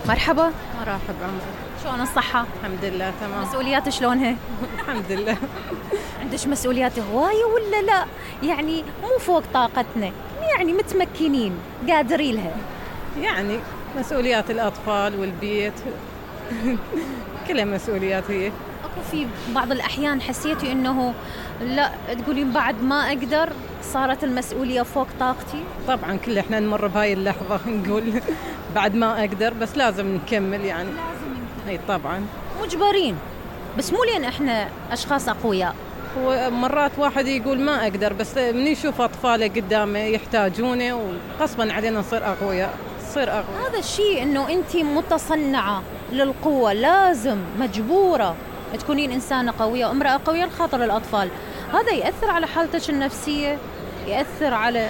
مرحبا. مرحبا عمري. شلون الصحة؟ الحمد لله تمام. مسؤوليات شلونها؟ الحمد لله. عندش مسؤوليات هواية ولا لا؟ يعني مو فوق طاقتنا، يعني متمكنين قادرين لها. يعني مسؤوليات الأطفال والبيت كلها مسؤوليات هي. اكو في بعض الأحيان حسيتي إنه لا تقولين بعد ما أقدر، صارت المسؤولية فوق طاقتي؟ طبعا كل احنا نمر بهاي اللحظة نقول بعد ما أقدر، بس لازم نكمل يعني. اي طبعا مجبرين، بس مو لين احنا أشخاص أقوياء. ومرات واحد يقول ما أقدر، بس من يشوف أطفاله قدامه يحتاجونه وغصبا علينا نصير أقوياء. هذا الشيء إنه أنت متصنعة للقوة، لازم مجبورة تكونين إنسانة قوية وامرأة قوية لخاطر الأطفال. هذا يأثر على حالتك النفسية، يأثر على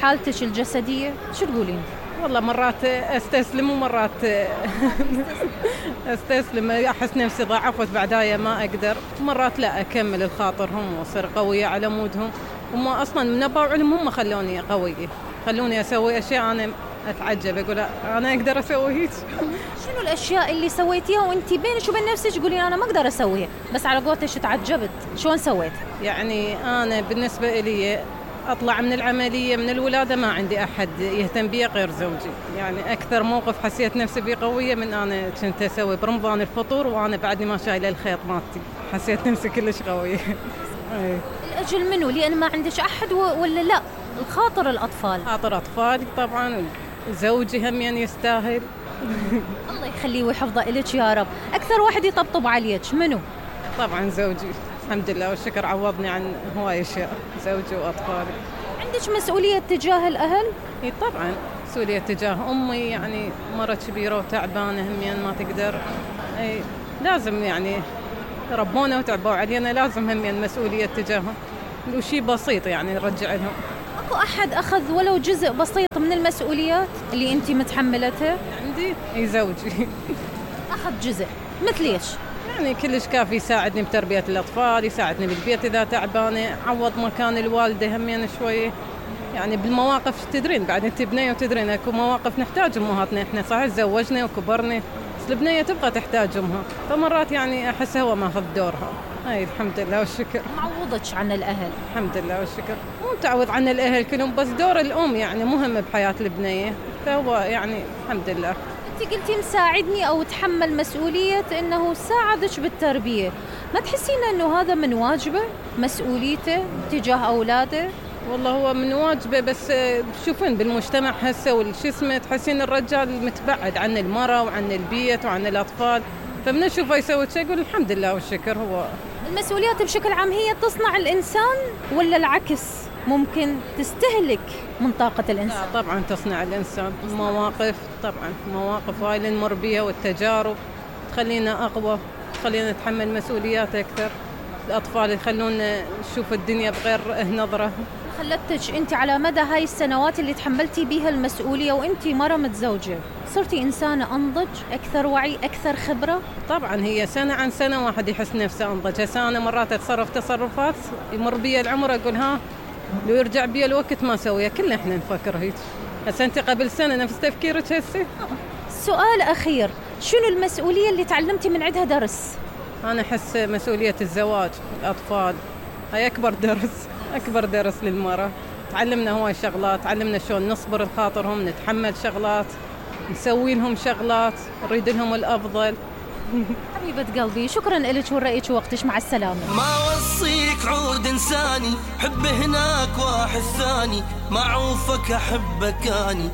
حالتك الجسدية. شو تقولين؟ والله مرات استسلم ومرات استسلم، احس نفسي ضعفت بعدايا ما اقدر. مرات لا اكمل الخاطرهم واصير قويه على مودهم. هم اصلا من ابا علم هم خلوني قويه، خلوني اسوي اشياء انا اتعجب اقول انا اقدر اسوي هيك. شنو الاشياء اللي سويتيها وانت بينك وبين نفسك تقولين انا ما اقدر اسويها، بس على قولتك تعجبت؟ شلون سويت؟ يعني انا بالنسبه لي أطلع من العملية من الولادة ما عندي أحد يهتم بي غير زوجي. يعني أكثر موقف حسيت نفسي بيه قوية من أنا كنت أسوي برمضان الفطور وأنا بعدني ما شايلة الخيط مالتي، حسيت نفسي كلش قوية. الأجل منو؟ لأن ما عندك أحد ولا لا؟ الخاطر الأطفال. خاطر أطفالي طبعا، وزوجي هم يعني يستاهل. الله يخليه ويحفظه إلك يا رب. أكثر واحد يطبطب عليك منو؟ طبعا زوجي، الحمد لله والشكر عوضني عن هواي أشياء، زوجي وأطفالي. عندك مسؤولية تجاه الأهل؟ إيه طبعا مسؤولية تجاه أمي، يعني مرة كبيرة وتعبانة همين ما تقدر. أي لازم يعني ربونا وتعبوا علينا، لازم همين مسؤولية تجاههم، وشي بسيط يعني نرجع لهم. أكو أحد أخذ ولو جزء بسيط من المسؤوليات اللي أنت متحملتها؟ عندي إيه زوجي أخذ جزء مثل إيش؟ يعني كلش كافي، يساعدني بتربية الأطفال، يساعدني بالبيت إذا تعبانة، عوض مكان الوالدة همين شوية. يعني بالمواقف تدرين بعد انت بنية وتدرين اكو مواقف نحتاج امهاتنا، احنا صحيح تزوجنا وكبرنا بس البنية تبغى تحتاج امها، فمرات يعني احس هو ماخذ دورها. هاي الحمد لله والشكر. معوضتش عن الاهل؟ الحمد لله والشكر، مو تعوض عن الاهل كلهم، بس دور الام يعني مهم بحياة البنية، فهو يعني الحمد لله. انت قلتي مساعدني او تحمل مسؤولية انه ساعدك بالتربية، ما تحسين انه هذا من واجبه مسؤوليته تجاه اولاده؟ والله هو من واجبه، بس تشوفين بالمجتمع هسه والشسمة تحسين الرجال متبعد عن المرأة وعن البيت وعن الأطفال، فمن نشوفه يسوي شيء يقول الحمد لله والشكر. هو المسؤوليات بشكل عام هي تصنع الإنسان ولا العكس؟ ممكن تستهلك من طاقة الإنسان؟ لا طبعا تصنع الإنسان. مواقف طبعا، مواقف هاي اللي نمر بيها والتجارب تخلينا أقوى، تخلينا نتحمل مسؤوليات أكثر. الأطفال يخلونا نشوف الدنيا بغير نظرة. خلتك أنت على مدى هاي السنوات اللي تحملتي بيها المسؤولية وأنت مرة متزوجة صرتي إنسانة أنضج، أكثر وعي، أكثر خبرة؟ طبعا هي سنة عن سنة واحد يحس نفسه أنضج. هسه أنا مرات أتصرف تصرفات يمر بي العمر أقول ها لو يرجع بي الوقت ما سويها. كلنا إحنا نفكر هيك. هسه أنت قبل سنة نفس تفكيرك هسه. سؤال أخير، شنو المسؤولية اللي تعلمتي من عندها درس؟ أنا أحس مسؤولية الزواج، الأطفال، هاي أكبر درس، أكبر درس للمرأة. تعلمنا هواي شغلات، تعلمنا شلون نصبر لخاطرهم، نتحمل شغلات، نسوي لهم شغلات، نريد لهم الأفضل. حبيبة قلبي، شكرا لك ورأيك ووقتك، مع السلامة. ما وصيك عود إنساني، حب هناك واحد ثاني، معوفك أحبك أني،